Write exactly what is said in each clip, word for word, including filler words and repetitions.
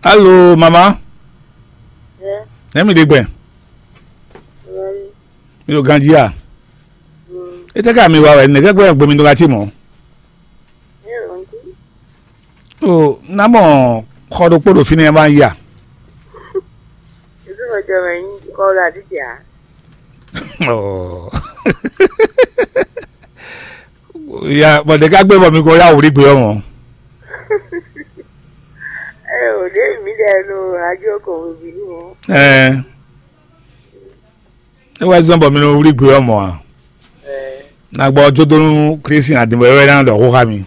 Alo, mama. Ɛ, Nɛ̌ mi ɖe gbɛn? Ɛ, Mi ɖo ganjí a? Mm. Étɛ́ ká mi wa wɛ? Nɛ̌ gbɛ́ gbɛ́ mi ɖó ká cí mɔ̌? Ɛ, ɔ́, jí. O, ná mɔ xɔ ɖokpó ɖo fínɛ́ wá yi a? Ìdúró jọ mɛ yín kọ́ ló àdídì à? Ɔ. Ya, bɔ ɖe ká gbé bɔ mi ko ya wlí gbé ɔ́ mɔ̌. Ɛ, ò ɖě mi ɖɛ nɔ ajó kɔn wěwé nú ɔ́. Ɛ. É wɛ zɔ́n bɔ mi nɔ wlí gbé ɔ́ mɔ̌ a? Ɛ. Ná gbɔ jó dó nú Klísu adinbɔ é wɛ ná ɖɔ xó xá mi.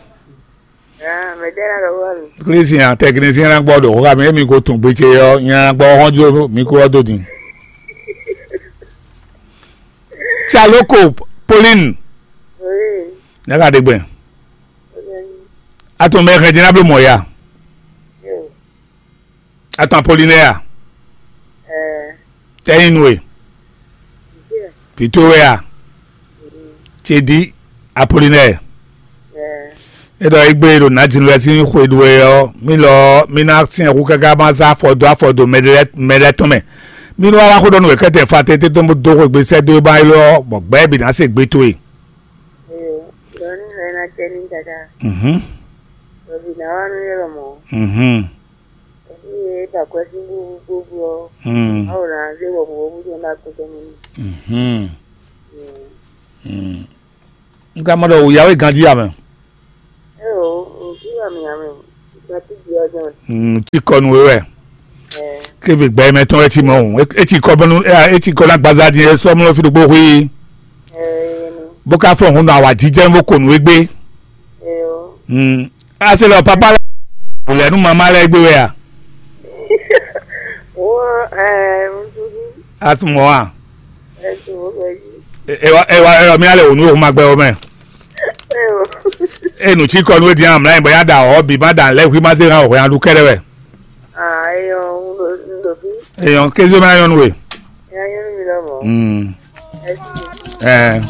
Ah, mɛ ɖé ná ɖɔ xó xá mi. Klísu a tɛkinisíɛn ná gbɔ ɖɔ xó xá mi, émi ko tun gbe ce ɔ́, nya ná gbɔ xɔ́n jó mi kó ɔ́ dó din. Tsalóko Pauline. Oui. Nyaka ɖe gbɛn. Oui. Atɔn mɛ xɛ dín ná bló mɔ ya. Yo. Atɔn Apolinɛ́ɛ a? Ɛɛ. Tɛ́ nyí nú we? Vǐ towe a? Cédí Apolinɛ́ɛ. Ɛɛ. É ɖɔ égbé ɖo nǎjínú lɛ́ɛ sín xwe ɖu wɛ ɔ́, mí lɔ ɔ́, mí ná syɛ́n hú káká má zán afɔ dó afɔ dó mɛ lɛ́ɛ tɔn mɛ. Mí nú wá wá xó ɖɔ nú wěkɛ́tɛn Faatɛ́n tɛ́ tɔn bó dó xwé gbe sɛ́ dó é má élɔ́ ɔ́, bɔ gbɛ̌ bǐ ná se gbé towe. Ee, ɖɔ nú mɛ ná tɛ́ ní káká. Mhm. Ɖɔ bǐ ná wá nú é lɔmɔ̌. Mhm. Ée é ɖo akwɛ́ sín búbú gbogbo ɔ́, Hmm. Mawu ná zé wɔ̌buwɔ́bú tɔn ɖó akpétɔ́ mɛ n'i. Mhm. Mm. Mm. Un ka mɔ ɖɔ wǔyá wɛ ganjí ame. Éyo, ŋkú amì amì, gbàtú jí ɔ́ jɔn. Mm, tí kɔ nú we wɛ. Ɛ, Kéve gbɛ mɛ tɔn wɛ tí mɔ o. É tí kɔ bɔnu, é tí kɔ ná gbaza dín é sɔmlɔ fi ɖokpó xwí. Ɛ, Bó ká fɔn hun nɔ awǎjijɛ bó ko nú we gbé. Éyo. Mm. Ase lɔ papa lɛ wò lɛ nú mama lɛ gbé wɛ a? Wọ́n ẹ̀ ń dúdú Asumɔ a? Ẹ̀sùn ó bẹ̀ yìí. Ewa ewa ewa mi alɛ wò nú o ma gbɛ o mɛ. Ẹ o. E nu tsi kɔ nú e diɛ amla yɛ bɔ ya da ɔ bi ma da lɛ hui ma se hã o hɔn aɖu kɛɖɛ wɛ. Ah, eyɔ, ń lò ń lò bí. Eyɔn kézé ma yɔn nú we. Ẹ yẹn ń mi lọ mọ́. Mm. Ẹ sì. Ẹ.